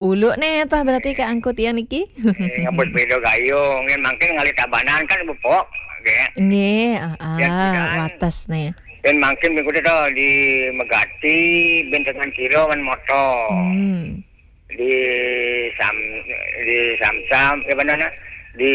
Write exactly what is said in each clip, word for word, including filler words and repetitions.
Uluk neh tah berarti Kak Angku tiang niki. Eh, ngabut sepeda gayung, kan mangkin ngalih Tabanan kan bepok, ya. Nggih, heeh, ya, kan. Wates neh. Dan mangkin minggu tu di Megati, bin tekan kilo man motor. Hmm. Di Sam, di Samsam, ya, mana nah? Di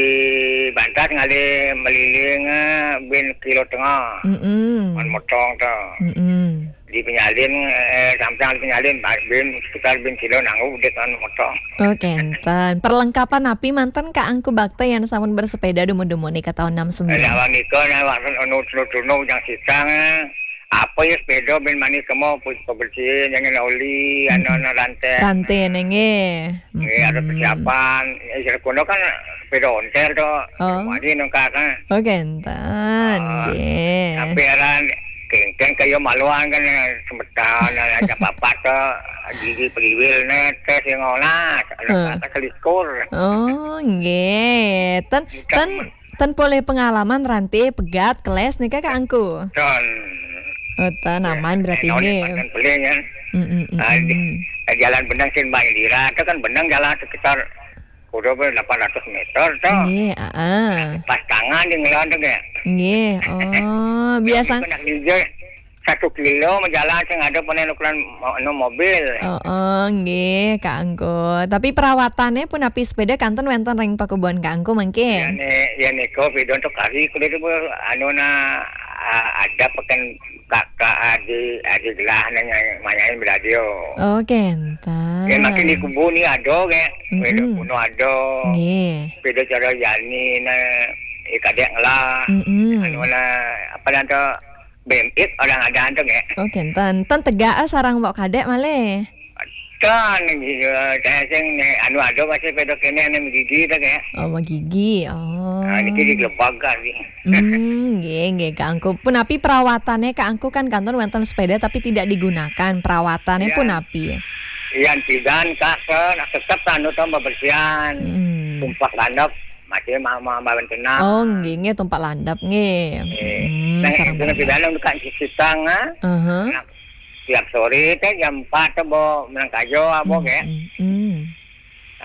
Bantas ngalih meliling, eh, bin kilo tengah. Mm-mm. Man motong tu. Mm-mm. Di Penyalin, eh, Samsam di Penyalin, ba-, bin sekitar bin kilo nanggu dek man motong. Oh, kenten. Perlengkapan napi manten Kak Angku bakta yang sampun bersepeda dumun-dumun nika tahun enam sembilan? Ada awak nika, nah, awak anu tunu-tunu yang sitang, eh. Apa ya sepeda bin mani kemo pu-, pembersih, jangan oli, hmm, anu, anu, rantai. Rantai neh, nggih. Nggih, ada, hmm, persiapan. Ya, sira kono kan sepeda ontel tu. Oh. Mari nengkak kan. Oh, kenten, ah, nggih. Tapi aran kengkeng kaya maluan kan, eh, semeton, eh, aja papat tu, gigi periwil neh, tes yang olah, ada, hmm, kata selikur. Oh, nggih. Ten, ten, ten polih pengalaman rantai pegat keles nika Kak Angku? Ten. Oh, ten, ya, aman berarti, eh, nggih. Ten polih, ya. Mm, mm, mm, ah, di, mm, eh, jalan benang sin Mbak Indira tu kan benang jalan sekitar kurang lebih delapan ratus meter tu. Nggih, heeh. Pas tangan di ngelan tu, nggih. Nggih, oh, biasa. Nak ninja satu kilo menjalan sing ada pun ukuran mo-, anu mobil. Oh, oh, nggih, Kak Angku. Tapi perawatannya pun napi sepeda kanten wenten ring pakubuhan Kak Angku mangkin? Ya, ne, ya, nika sepeda tu kari kudu tu, anu, nah, ah, ada peken kakak adik, adik gelah nanya, manyain beladio. Oh, kenten. Ya, mangkin di kubu ni ada, ke? Mm-mm. Sepeda kuno ada. Nggih. Sepeda cara Yani, nah, eh, kadek ngelah. Mm-mm. Anu, nah, apa dah tu? B M X orang ada tu, ke? Oh, kenten. Ten tegak, ah, sarang bawa kadek malih. Ten, ya, saya sing ni, anu, ada masih sepeda kene, anu, gigi tu, ke? Oh, magigi. Oh. Ah, niki di Gelebag kan, ni. Hmm, nggih, nggih, Kak Angku. Punapi perawatannya Kak Angku kan kanten wenten sepeda tapi tidak digunakan. Perawatannya, iya, punapi? Iya, tidak, Kak, ke, nak tetap anu tu pembersihan. Hmm. Tumpah landep, masih ma-, ma-, ma-, tenang. Oh, nggih, nggih, tumpah landep, nggih. Nggih. Hmm, nah, sareng itu bareng. Pidana dekat Sisitang, ah. Aha. Nah, tiap sore teh jam empat teh bawa menang kajo, apa, hmm, ke? Hmm, hmm.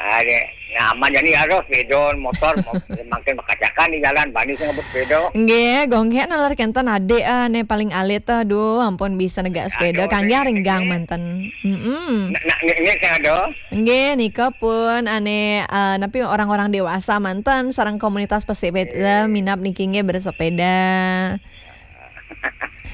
Ah, deh. Nah, aman jadi harus sepeda, motor, mo-, mangkin bekacakan di jalan, bani sing ngebut sepeda. Nggih, gonggek nalar kenten adik, ah, ne paling alit, aduh, ampun bisa negak sepeda, aduh, kangge ringgang manten. Mm-mm. Nak, nak, ni, ni sing ada. Nggih, nika pun, ane, ah, napi orang-orang dewasa manten, sareng komunitas pesepeda, eh, minab niki nggih bersepeda.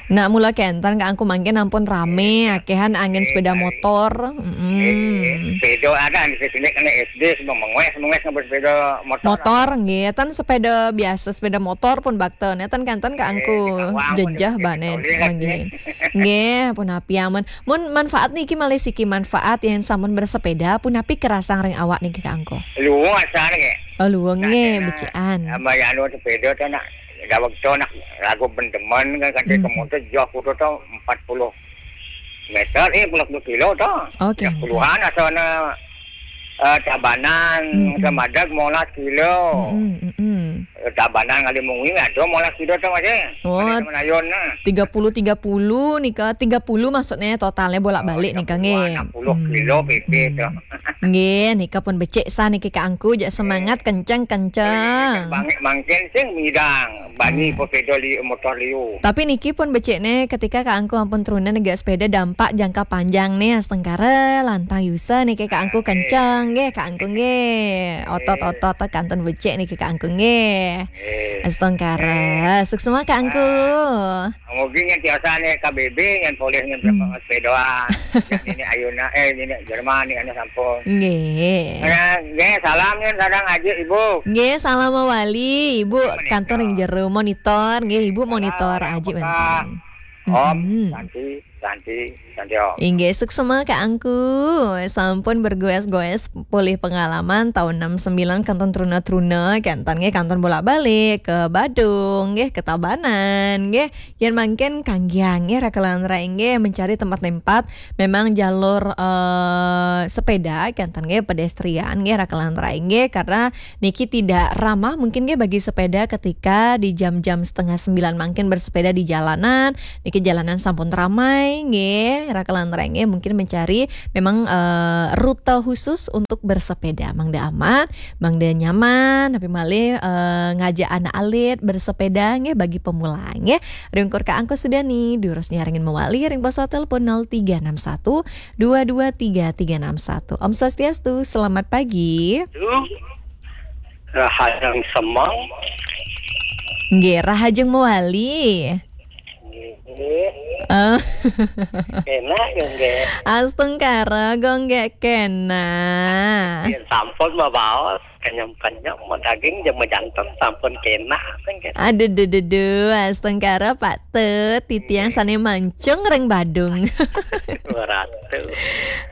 Nak mula kenten Kak Angku mangkin ampun rame, eh, akehan angin, eh, sepeda motor. Mm-mm. Eh, sepeda ada di sini kena S D, semua mengues, mengues ngebut sepeda motor. Motor, nggih, ten sepeda biasa, sepeda motor pun bakten. Ya, ten kanten Kak Angku, eh, di bawah pun jejeh sepeda banen, nolih, nggih. Nggih, punapi aman. Mun manfaat niki malih siki manfaat yang sampun bersepeda, punapi kerasang ring awak niki Kak Angku? Luwung asal nggih. Oh, luwung nggih, nah, becikan. Tambah ya anu sepeda tu nak, daweg tu nak lagu bendemen kan, kan, hmm, kemudian jauh kudu tu empat puluh meter, eh, empat puluh kilo tu. Oke. Ya, puluhan asal na, eh, Tabanan, mm-mm, ke Madag molas kilo. Mm-mm, mm-mm. Eh, Tabanan ngalih Mungwi ada molas kilo tu masih. Oh, ada teman ayun nah. Tiga puluh, tiga puluh nika, tiga puluh maksudnya totalnya bolak-balik, oh, nika, nggih. Enam puluh kilo, hmm, P P, hmm, tu. Nggih, nika pun becik sah niki Kak Angku, jak semangat, eh, kenceng-kenceng. Eh, bangkit mangkin sing midang, bani, eh, pesepeda li-, motor liu. Tapi niki pun becik ne ketika Kak Angku ampun truna negak sepeda dampak jangka panjang ne astengkara lantang yusa niki Kak Angku, ah, kenceng nggih Kak Angku nggih. Otot-otot kantun becik niki Kak Angku nggih. Eh. Astengkara. Eh. Suksma Kak Angku. Ah. Mugi nyen tiosan ya K B B nyen polih nyen, hmm, sepedaan. Nini ayuna, eh, nini Jerman ni anu sampun. Nggih. Ya, nggih, salam nyen sareng Aji Ibu. Nggih, salam mawali Ibu. Monitor. Kantor yang jero monitor, nggih Ibu monitor. Salam, Aji Mekah. Wenten. Om, mm-mm. Santi, Santi, Santi Om. Inggih, suksma Kak Angku. Sampun bergoes-goes polih pengalaman tahun enam sembilan kantun truna-truna, kenten nggih kantun bolak-balik ke Badung, nggih ke Tabanan, nggih. Yen mangkin kanggiang nggih raka lan rai nggih mencari tempat-tempat memang jalur, eh, sepeda kenten nggih pedestrian nggih raka lan rai nggih karena niki tidak ramah mungkin nggih bagi sepeda ketika di jam-jam setengah sembilan mangkin bersepeda di jalanan, niki jalanan sampun ramai nggih. Rakelan rengge mungkin mencari memang eh, rute khusus untuk bersepeda. Mangda aman, mangda nyaman, tapi malih eh, ngajak anak alit bersepeda nggih bagi pemula nggih. Ring ungkur kaangkuh sida ni, durus nyarengin mawali ring pos telepon nol tiga enam satu dua dua tiga tiga enam satu. Om Swastiastu, selamat pagi. Tuh, rahajeng semeng. Nggih, rahajeng mawali. Nggih. Eh. Enak ya nggih. Astungkara, gonggek kena. Yen sampun mabaos, kenyem-kenyem, daging jeung majanten sampun kena. Aduh, duh, duh, duh, astungkara Pak Tut, titiang sane mancung ring Badung. Ratu.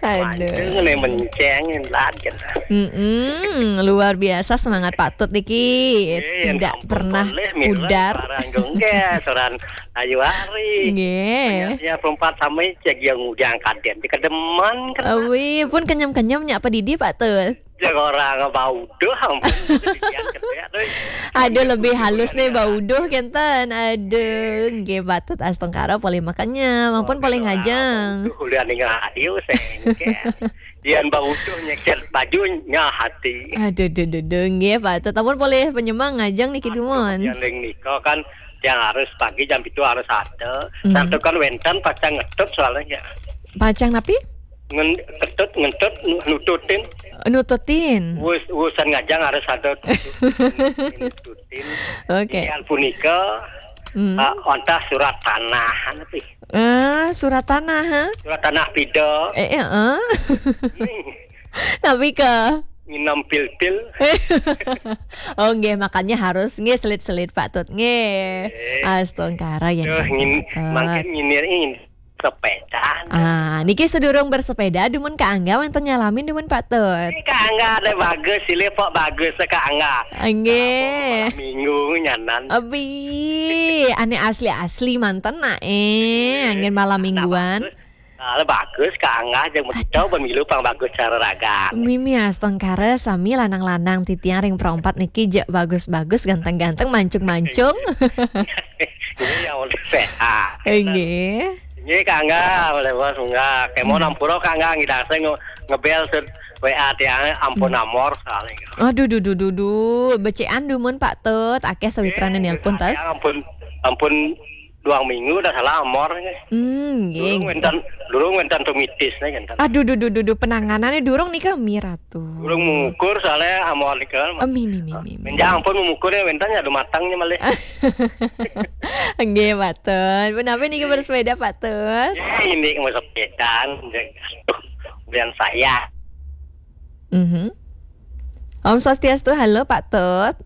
Aduh. Mancung ne menceng, lad, gitu. Mm-mm, luar biasa semangat Pak Tut niki. Nggih, yen tidak sampun pernah boleh, mila pudar. Seorang gonggek, seorang ayu hari. Nggih. Hanya perempat sama cek yang udah angkat dia. Dikedeman kan. Awi, pun kenyem-kenyem nyak pedidi Pak Tut. Cek orang bau doh, ampun. Demikian cedek tuh. Aduh, lebih halus nih bau doh kenten. Aduh, nggih Pak Tut astungkara polih makanya, mampun polih ngajeng. Bau doh, udah ning radio sengke. Dian bau doh nyekcet baju nyah hati. Aduh, duh, duh, duh, nggih Pak Tut. Ampun polih penyemang ngajeng niki dumun. Yang ning nika kan yang harus pagi jam itu harus ada. Hmm. Satu kan wenten pacang ngetut soalnya. Pacang napi? Ngen-, ketut, ngentut, nu-, nututin. Nututin. Wus-, wusan ngajang harus ada nututin. Oke. Tinggal punika, Hmm. eh, ontah surat tanah, napi? Eh, surat tanah, ha? Surat tanah pida. Eh, eh, eh. Napi ke? Nginem pil-pil. Oh, nggih, makanya harus nggih selit-selit Pak Tut, nggih. Nggih. Astungkara yang Duh, ngin-, Pak Tut. Mangkin nginir ini sepeda. Ah, niki sedurung bersepeda, dumun Kak Angga wenten nyalamin dumun Pak Tut. Ini Kak Angga ada bagus, silih pok bagus Kak Angga. Nggih. Malam minggu nyanan. Abi, ane asli-asli manten nak eh, anggen malam mingguan. Bagus. Nah, bagus Kak Angga jeung begitu pemilu pang bagus cara raga. Mimi astungkara sami lanang-lanang titiang ring perompat niki jek bagus-bagus, ganteng-ganteng, mancung-mancung. Ini yang udah sehat. Nggih. Nggih, Kak Angga, oleh bos munggah. Kemo nampura Kak Angga ngidang saya nge-, ngebel set W A tiang ampun amor sekali. Aduh, duh, duh, duh, duh. Becikan dumun Pak Tut, akeh sawitrane nelpon tas. Ampun, ampun duang minggu udah salah amor nggih. Hmm, nggih. Durung wenten, durung wenten tumitis nih kan. Aduh, duh, duh, duh, duh, penanganannya durung nih kami Ratu. Durung mengukur soalnya amor nih kan. Oh, mi, mi, mi, mi, mi. Menjang ampun mengukur ya wenten ya matangnya malah. Nggih, Pak Tut. Menawi niki bersepeda, Pak Tut? Ya, ini mau sepedaan. Kemudian saya. Mhm. Om Swastiastu, halo Pak Tut.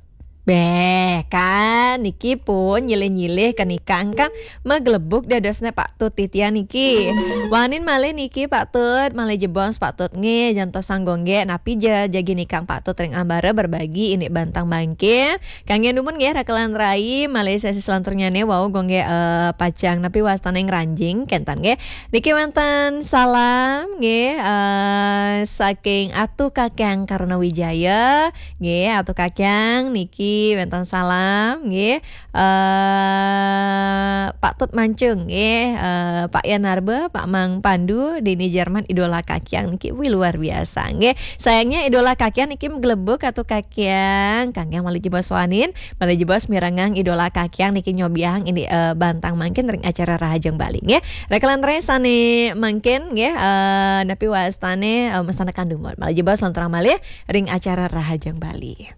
Beh, kan niki pun nyilih-nyilih ke nikang kan maglebuk dadosne Pak Tut titian niki. Wanin malih niki Pak Tut, malih jebos Pak Tut nggih, jantos sanggo nggih, napi ja jagi nikang Pak Tut ring ambara berbagi ini bantang mangkin. Kangge dumun nggih rakelan rai, malih sesi selanturnyane wau gonggih eh, pacang napi wastane ngranjing kenten nggih. Niki wenten salam nggih eh, saking Atu Kakang Karuna Wijaya nggih, Atu Kakang niki wenten salam nggih eh, Pak Tut Mancung nggih, eh, Pak Yan Narba, Pak Mang Pandu, Dini Jerman, idola Kakang niki wih luar biasa nggih. Sayangnya idola Kakang niki maglebuk Atu Kakang, Kakang malih jebos wanin, malih jebos mirengang idola Kakang niki nyobiahang ini eh, bantang mangkin ring acara Rahajeng Bali nggih. Rakelan rai sane mangkin nggih eh, napi wastane eh, mesana kandumut. Malih jebos lanturang malih ring acara Rahajeng Bali.